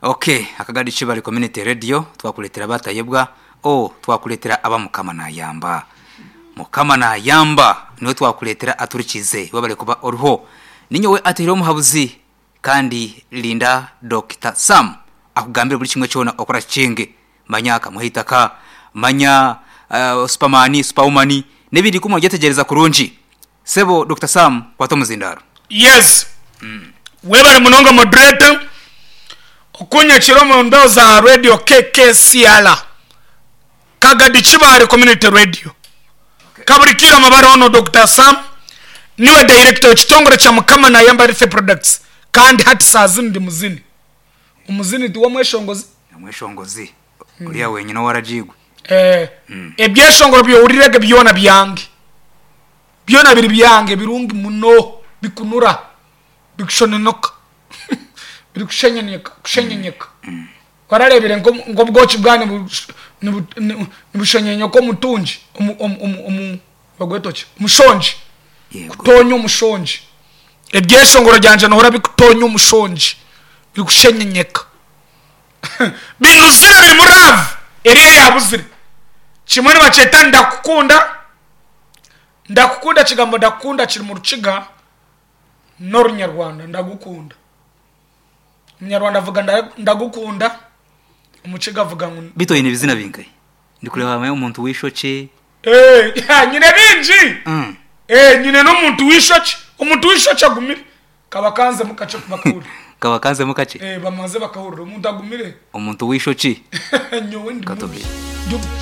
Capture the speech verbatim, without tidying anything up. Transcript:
Okay, Akagadi Kibale Community Radio, twakureetera abatayebwa, oh, twakureetera aba Mukama naayamba. Mukama naayamba, niwe twakureetera aturikize, webale kuba oriho. Ninyowe ateire omuhabuzi kandi linda Dokita Sam akugambire buri kimwe kyona okora kikinge. Manya akamuha eitaka, manya uh, superman, superwoman, n'ebindi kumwe ogyetegyereza kurungi. Sebo Dokita Sam, kwata omuzindaaro. Yes, webare munonga moderator okunyakira omu mbeho za radio K K C R, Kagadi Kibaare Community Radio. Kaburikire amabara ono Doctor Sam, niwe director w'ekitongore kya Mukama Nayamba Health Products, kandi hati saa zinu ndi muzini. Omuzini tiwe omweshongozi? Omweshongozi uriya wenyine owaragiigwe. Eh, ebyeshongoro byohurirege byona byange, byona biri byange, birungi muno, bikunura, bikushononoka, biri kushenyenyeka kushenyenyeka. Wararebire nk'obwoki bwanyu nibushonyenyoka omutungi omu- omu- omu- omu bagweta ki, omushongi? Yego. Kutonya omushongi. Ebyeshongoro byangye nohora bikutonya omushongi, biri kushenyenyeka, binuzire, birimu love eri eyabuzire. Kimwe nibakyeta "Ndakukunda". Ndakukunda, kigambo "ndakukunda" kiri mu Rukiga n'Orunyarwanda. Ndagukunda, Omunyarwanda avuga nda- "ndagukunda", Omukiga avuga ngu Bitu oine ebizina bingahi? Ndikureba hamayo omuntu w'eishokye. Eh, nyine bingi. Mm. Eh, nyine n'omuntu w'ishokye. Omuntu w'ishokye agumire, kaba kanzemu kakye bakahurira. Kaba kanzemu kakye. Eh, bamaze bakahurira omuntu agumire. Omuntu w'ishokye. Nyowe ndi Katubwire. mubi. Ndi-